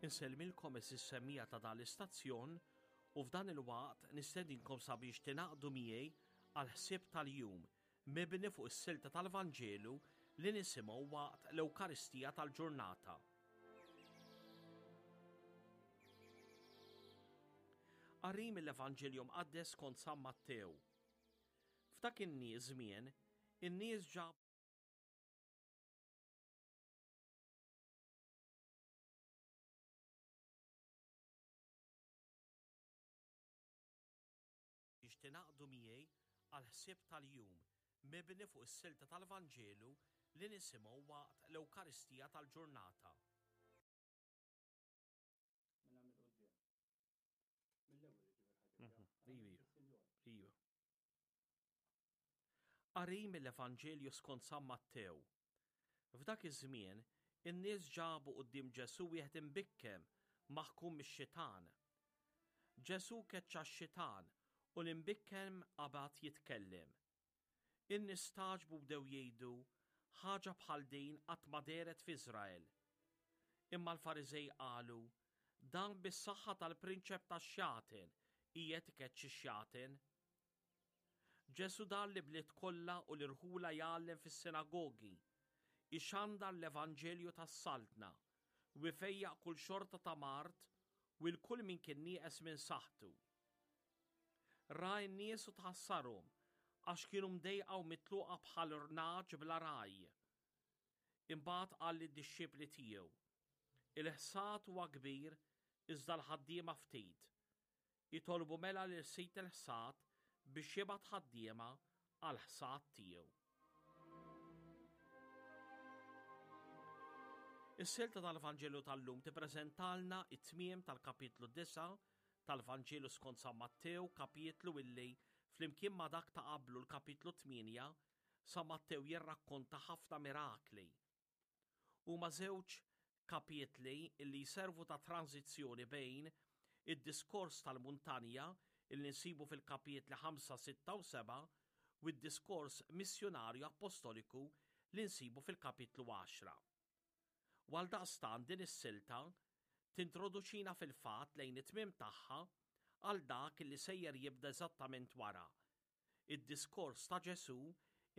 Insellmilkom għeżież semmiegħa ta' dan l-istazzjon u f'dan il-waqt nistedinkom sabiex tingħaqdu miegħi għall-ħsieb tal-jum mibni fuq is-silta tal-Vanġelu li nisimgħu waqt l-Ewkaristija tal-ġurnata. Qari mill-Evanġelju Mqaddes skont San Mattew. F'dak in-żmien, in-nies ġabu Biex tingħaqdu miegħi għall-ħsieb tal-jum mibni fuq is-silta tal-Vanġelu li nisimgħu waqt l-Ewkaristija tal-ġurnata. Minn hemm 'il quddiem. Mill-ewwel jiġifieri ħa tibda. Iva. Qari mill-Evanġelju skont San Mattew. F'dak iż-żmien, in-nies ġabu quddiem Ġesù wieħed imbikkem, maħkum mix-xitan. Ġesù keċċa x-xitan u l-imbikkem qabad jitkellem. In-nies stagħġbu u bdew jgħidu, Ħaġa bħal din qatt ma dehret f'Iżrael. Imma l-Fariżej qalu, Dan bis-saħħa tal-prinċep tax-xjaten qiegħed ikeċċi x-xjaten. Ġesù dar l-ibliet kollha u l-irħula jgħallem fis-sinagogi, ixandar l-evanġelju tas-Saltna, u jfejjaq kull xorta ta' mard u 'l kull min kien nieqes minn saħħtu. Ra n-nies u tħassarhom, għax kienu mdejqa u mitluqa bħal nagħaġ bla ragħaj. Imbagħad qal lid-dixxipli tiegħu, Il-ħsad huwa kbir, iżda l-ħaddiema ftit. Itolbu mela lil Sid il-ħsad biex jibgħat ħaddiema għall-ħsad tiegħu. Is-silta tal-Vanġelu tal-lum tippreżentalna it-tmiem tal-kapitlu 9 tal-Vanġelu skont San Mattew, kapitlu illi flimkien ma' dak ta' qablu l-kapitlu 8, San Mattew jirrakkonta ħafna mirakli. Huma żewġ kapitli li jservu ta' tranżizzjoni bejn id-diskors tal-muntanja li nsibu fil-kapitli 5, 6 u 7 u d-diskors missjunarju appostoliku li nsibu fil-kapitlu 10. U għaldaqstant din is-silta tintroduċina fil-fatt lejn it-tmiem tagħha għal dak li sejjer jibda eżattament wara, id-diskors ta' Ġesù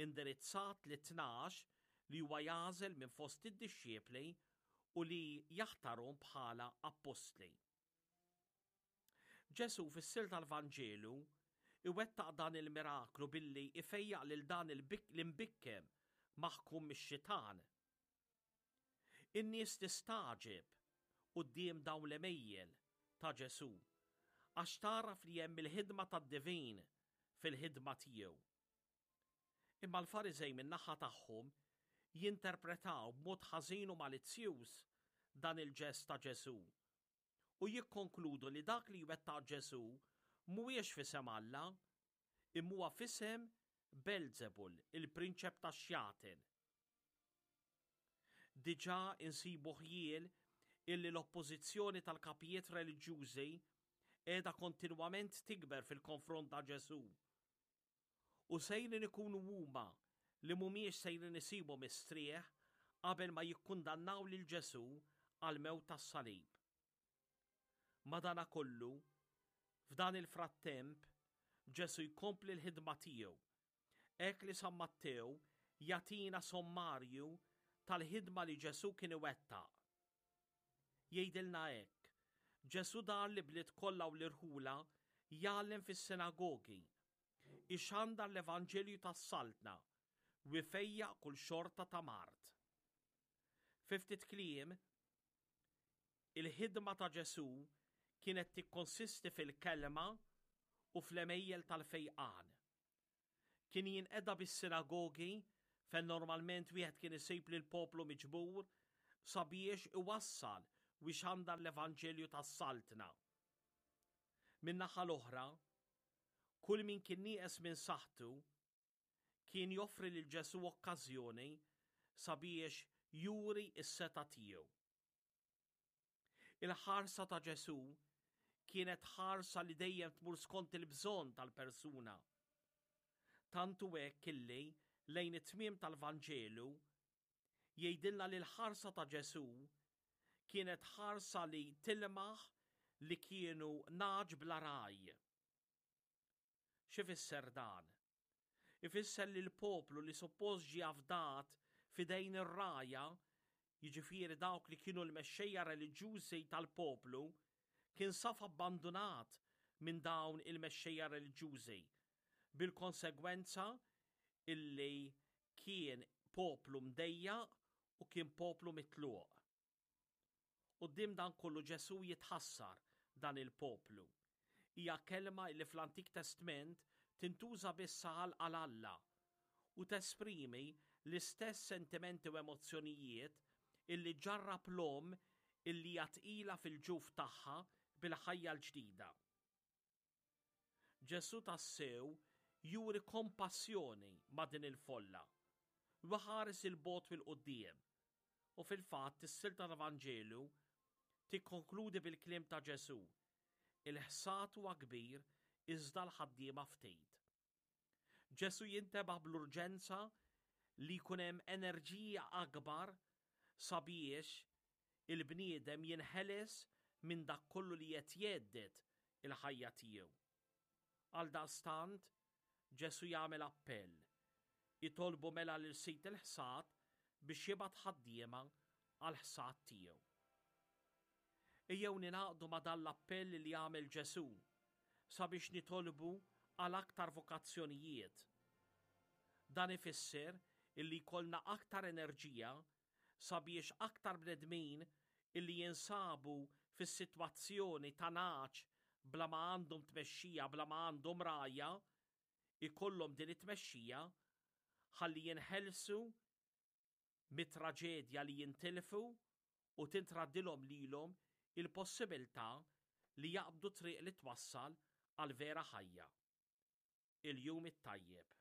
indirizzat lit-Tnax li huwa jagħżel minn fost id-dixxipli u li jaħtarhom bħala appostli. Ġesù fis-silta tal-Vanġelu iwettaq dan il-miraklu billi ifejjaq lil dan l-imbikkem maħkum mix-xitan. In-nies tistagħġeb quddiem dawn l-għemejjel ta' Ġesù, għax tagħraf li hemm il-ħidma tad-divin fil-ħidma tiegħu. Imma l-Fariżej min-naħa tagħhom jinterpretaw b'mod ħażin u malizzjuż dan il-ġest ta' Ġesù u jikkonkludu li dak li jwettaq Ġesù mhuwiex f'isem Alla, imma huwa f'isem Belzebul, il-prinċep tax-xjaten. Diġà insibu ħjiel illi l-oppożizzjoni tal-kapijiet reliġjużi qiegħda kontinwament tikber fil-konfront ta' Ġesù. U sejrin ikunu huma li mhumiex sejrin isibu mistrieħ qabel ma jikkundannaw lil Ġesù għall-mewt tas-salib. Madanakollu, f'dan il-frattemp, Ġesù jkompli l-ħidma tiegħu Hekk li San Mattew jagħtina sommarju tal-ħidma li Ġesù kien iwettaq. Jgħidilna hekk, Ġesù dar l-ibliet kollha u l-irħula jgħallem fis-sinagogi, ixandar l-evanġelju tas-Saltna u jfejjaq kull xorta ta' mard. Fi ftit kliem, il-ħidma ta' Ġesù kienet tikkonsisti fil-kelma u fl-għemejjel tal-fejqan. Kien jinqeda bis-sinagogi fejn normalment wieħed kien isib lill-poplu miġbur sabiex iwassal u jxandar l-evanġelju tas-Saltna. Min-naħa l-oħra, kull min kien nieqes minn saħħtu kien joffri lil Ġesù okkażjoni sabiex juri s-setgħa tiegħu. Il-ħarsa ta' Ġesù kienet ħarsa li dejjem tmur skont il-bżonn tal-persuna. Tant hu hekk illi lejn it-tmiem tal-Vanġelu jgħidilna li l-ħarsa ta' Ġesù. Kienet ħarsa li tilmaħ li kienu nagħaġ bla ragħaj. X'ifisser dan? Ifisser li l-poplu li suppost ġie afdat f'idejn ir-rgħajja, jiġifieri dawk li kienu l-mexxejja reliġjużi tal-poplu, kien saf abbandunat minn dawn il-mexxejja reliġjużi, bil-konsegwenza illi kien poplu mdejjaq u kien poplu mitluq. Quddiem dan kollu Ġesù jitħassar dan il-poplu. Hija kelma li fl-Antik Testment tintuża biss għal għal Alla u tesprimi l-istess sentimenti u emozzjonijiet illi ġġarrab l-omm illi hija tqila fil-ġuf tagħha bil-ħajja l-ġdida. Ġesù tassew juri kompassjoni ma' din il-folla u jħares 'il bogħod u 'l quddiem. U fil-fatt is-silta tal-Vanġelu tikkonkludi bil-kliem ta' Ġesù, Il-ħsad huwa kbir iżda l-ħaddiema ftit. Ġesù jintebaħ bl-urġenza li jkun hemm enerġija akbar sabiex il-bniedem jinħeles minn dak kollu li qed jhedded il-ħajja tiegħu. Għaldaqstant, Ġesù jagħmel appell, Itolbu mela lil Sid il-ħsad biex jibgħat ħaddiema għall-ħsad tiegħu. Ejjew ningħaqdu ma' dan l-appell li għamel Ġesù sabiex nitolbu għal aktar vokazzjonijiet. Dan ifisser illi jkollna aktar enerġija sabiex aktar bnedmin illi jinsabu fis-sitwazzjoni ta' nagħaġ bla ma għandhom tmexxija, bla ma għandhom rgħajja, ikollhom din it-tmexxija ħalli jinħelsu mit-traġedja li jintilfu u tintraddilhom lilhom il-possibiltà li jaqbdu triq li twassal għall-vera ħajja. Il-jum it-tajjeb.